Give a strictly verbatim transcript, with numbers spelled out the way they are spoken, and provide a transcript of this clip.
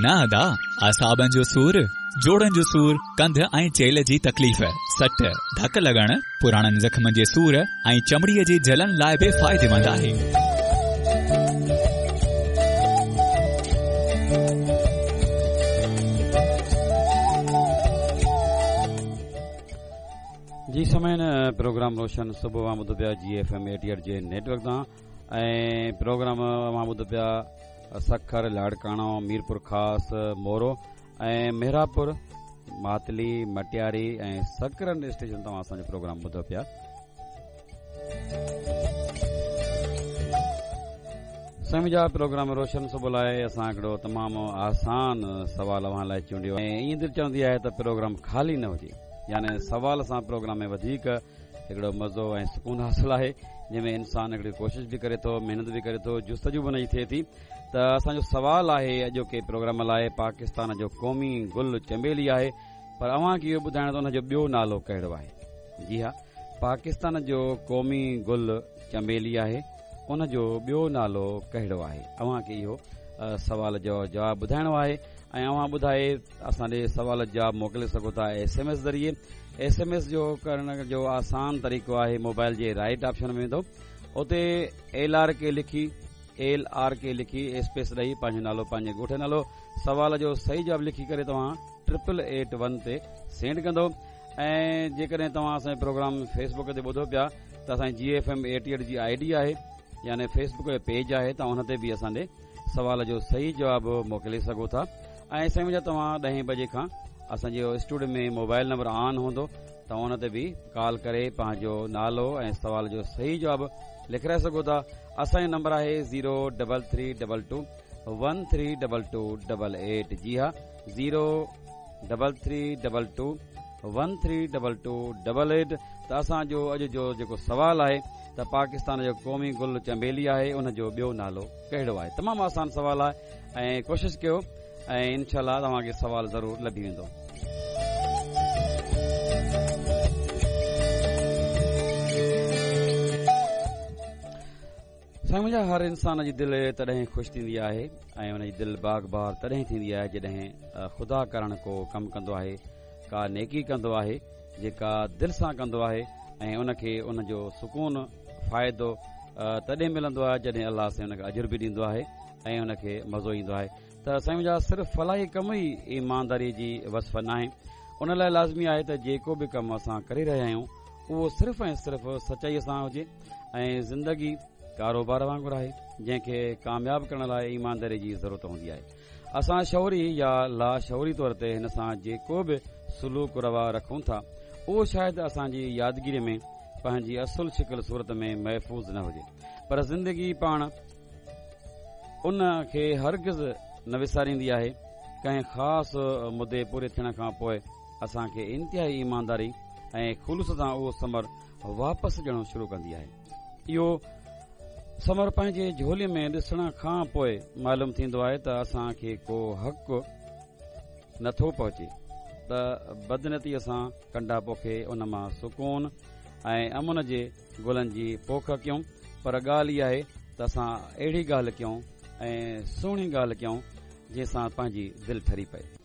نه ادا، اعصابن جو سور، جوڙن جو سور، ڪنڌ ۽ چيلهه جي تڪليف، سٽ، ڌڪ لڳڻ، پراڻن زخمن جي سور ۽ چمڙيءَ جي جلن لاءِ به فائديمند آهي. جي سامعين، پروگرام روشن صبح اوهان ٻڌو پيا جي ايف ايم ايٽي ايٽ جي نيٽ ورڪ تان ۽ پروگرام اوهان ٻڌو پيا سکر، لاڙڪاڻو، ميرپور خاص، مورو ۽ مهراپور، ماتلي، مٽياري ۽ سڪرنڊ اسٽيشن تان اسان جو پروگرام ٻڌو پيا. سائين جا پروگرام روشن صبح لاءِ اسان هڪڙو تمام آسان سوال اوهان لاءِ چونڊيو ۽ ائين دل چوندي آهي ته پروگرام خالي نه هجي، يعني سوال سان پروگرام ۾ وڌيڪ هڪڙو مزو ۽ سڪون حاصل آهي، جنهن ۾ انسان هڪڙي ڪوشش به ڪري ٿو، محنت به ڪري ٿو، جستجو به ان جي ٿئي ٿي. ته اسان جو سوال آهي اڄوڪي پروگرام لاءِ، پاڪستان جو قومي گل چميلي آهي، پر اوهان کي اهو ٻڌائڻو ته ان جو ٻيو نالو ڪهڙو آهي؟ جي ها، پاڪستان جو قومي گل چميلي آهي، ان جو ٻيو نالو ڪهڙو آهي؟ اوهان کي اهو سوال جو جواب ٻڌائڻو آهي ۽ اوهان ٻڌائي اسان ڏي سوال جواب موڪلي سگهو ٿا ايس ايم ايس ذريعي. ايس ايم ايس جو ڪرڻ جو آسان طريقو آهي، موبائل جي رائٽ آپشن ۾ ويندو، اتي ايل آر ڪي لکي، ايل آر ڪي لکي اسپيس ڏئي پنهنجو نالو، پنهنجي ڳوٺ جو نالو، سوال جو صحيح جواب لکي ڪري توهان ٽرپل ايٽ ون تي سينڊ ڪندو. ۽ جيڪڏهن توهان اسان جو پروگرام فيس بڪ تي ٻڌو پيا ته اسان جي جي ايف ايم ايٽي ايٽ جي I D آهي، يعني فيس بڪ جو پيج آهي، توهان ان تي به اسان ڏي سوال جو صحيح جواب موڪلي سگهو ٿا. ۽ سائين منهنجا، توهان ڏهين بجي کان اسان جي اسٽوڊيو ۾ موبائل نمبر آن هوندو، توهان ان تي به ڪال ڪري پنهنجو نالو ۽ سوال جو صحيح جواب لکرائي سگهو ٿا. اسان جو نمبر آهي zero double three double two one three double two double eight. جي ها، zero double three double two one three double two double eight. ته اسان جو اڄ جو جيڪو سوال آهي ته پاڪستان جو قومي گل چميلي آهي، ان جو ٻيو نالو ڪهڙو آهي؟ تمام آسان سوال آهي ۽ ڪوشش ڪيو ۽ انشاء الله توهان کي سوال ضرور لڀي ويندو. سائين منهنجا، هر انسان جي دل تڏهن خوش ٿيندي آهي ۽ ان جي دل باغ بهار تڏهن ٿيندي آهي جڏهن خدا ڪارڻ ڪو ڪم ڪندو آهي، ڪا نيڪي ڪندو آهي جيڪا دل سان ڪندو آهي ۽ ان کي ان جو سڪون فائدو تڏهن ملندو آهي جڏهن الله سائين ان کي اجر به ڏيندو آهي ۽ ان کي مزو ايندو آهي. ته سائين منهنجا، صرف فلاحي ڪم ئي ايمانداري جي وصف ناهي، ان لاءِ لازمي آهي ته جيڪو به ڪم اسان ڪري رهيا آهيون اهو صرف ۽ صرف سچائيءَ سان هجي. ۽ زندگي ڪاروبار وانگر آهي جنهن کي ڪامياب ڪرڻ لاءِ ايمانداري جي ضرورت هوندي آهي. اسان شعوري يا لاشعوري طور تي هن سان جيڪو به سلوڪ روا رکون ٿا اهو شايد اسان جي يادگيري ۾ پنهنجي اصل شڪل صورت ۾ محفوظ نه هجي، پر زندگي پاڻ ان کي هرگز نه وساريندي آهي. ڪنهن خاص مدي پوري ٿيڻ کان پوءِ اسان کي انتهائي ايمانداري ۽ خلوص سان اهو ثمر واپس ڏيڻ شروع ڪندي آهي. اهو ثمر پنهنجي جهولي ۾ ڏسڻ کان پوءِ معلوم ٿيندو آهي ته اسان کي ڪو حق نٿو پهچي ته بدنيتيءَ سان ڪنڊا پوکي ان مان سڪون ۽ امن جي گلن جي پوک ڪيون، پر ڳالهه اها آهي ته اسان اهڙي ڳالهه ڪيون ۽ سهڻي ڳالهه ڪيون جنهن سان پنهنجي دل ٺري پئي.